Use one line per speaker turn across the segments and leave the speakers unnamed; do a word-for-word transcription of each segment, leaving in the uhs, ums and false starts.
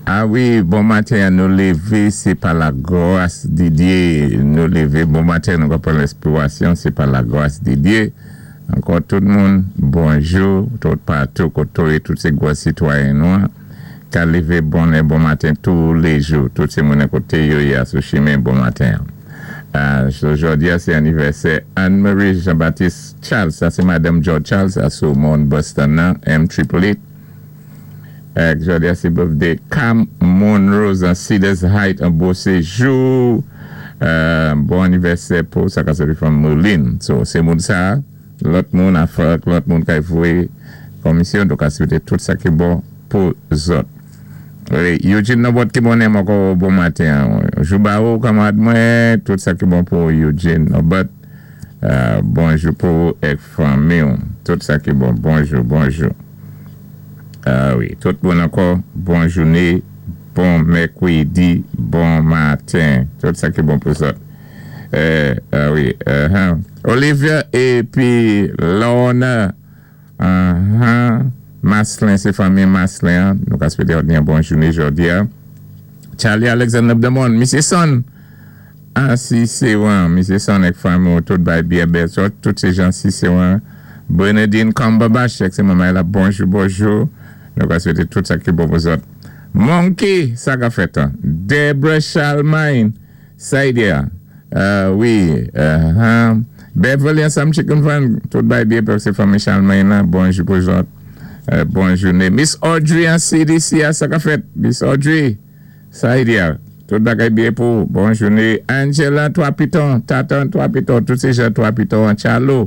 A wi, bon maten, nou lévé, sé pa la gwas di Dye. Nou lévé, bon maten, nou pran lenspirasyon, sé pa la gwas di Dye. Ankò tout moun, bonjou, tout patou, kotoye, tout sé gwo sitwayen nou, ka lévé bon bon maten tou lé jou. Tout sé moun koté yo ya sou chimen bon maten. Uh, jòdi a, sé anivèsè Anne-Marie Jean-Baptiste Charles, sa sé Madanm George Charles, a sou Mount Boston nan, M triple eight. Jòdi a, sé birthday Cam Monrose an Cedars Heights an Beauséjour. Euh, bon anivèsè pou sa ka soti from Moulin. So, sé moun sa, lòt moun a fòk, lòt moun ka voyé komisyon, donk a swété tout sa ki bon pou zòt. Wi, Eugene Nobot ki bon ankò bon maten. Jou ba ou, kanmarad mwen, tout sa ki bon pou Eugene Nobot. Euh, bonjou pou èk fanmi. Tout sa ki bon. Bonjou, bonjou. Ah wi, tout bon ankò. Bon jouné, bon mèkwédi, bon maten. Tout sa ki bon pou sa. Euh, ah wi, uh-huh. Olivia épi Lorna. Uh-huh. Maslin, sé fanmi Maslin. Hein. Nou ka swété yon bon jouné jòdi. Hein. Charlie Alexander Demon, Misyé Son. Ah, si sé wan. Misyé Son èk fanmi, tout bay byen bèl. Tout sé jan si sé wan. Bernadine Cumberbatch, sé manman la, bonjou, bonjou. Nou ka swété tout sa ki bon pou zòt. Monkey, sa ka fèt. Hein. Deborah Charlemagne, Saidia. Euh, wi, uh-huh. Beverly and Sam Chicken Van, tout bay byen pou sé fanmi Charlemagne la. Bonjou pou zòt. Euh, bon jouné. Miss Audrey an C D C, sa ka fèt. Miss Audrey, Saidia. Tout bagay byen pou. Bon jouné. Angela, Trois Pitons, Tatan, Trois Pitons, tout sé jan Trois Pitons, Chalo.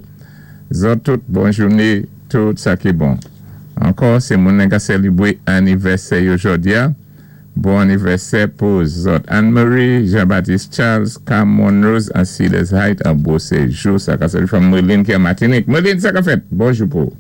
Zòt tout, bon jouné, tout sa ki bon. Ankò, sé moun ka sélébwé anivèsè yo jòdi a. Bon anivèsè pou zòt. Anne-Marie, Jean-Baptiste Charles, Cam Monrose, an Cedars Heights, an Beauséjour. Sa ka soti from Merlin ki an Matinik. Merlin, sa ka fèt. Bonjou pou.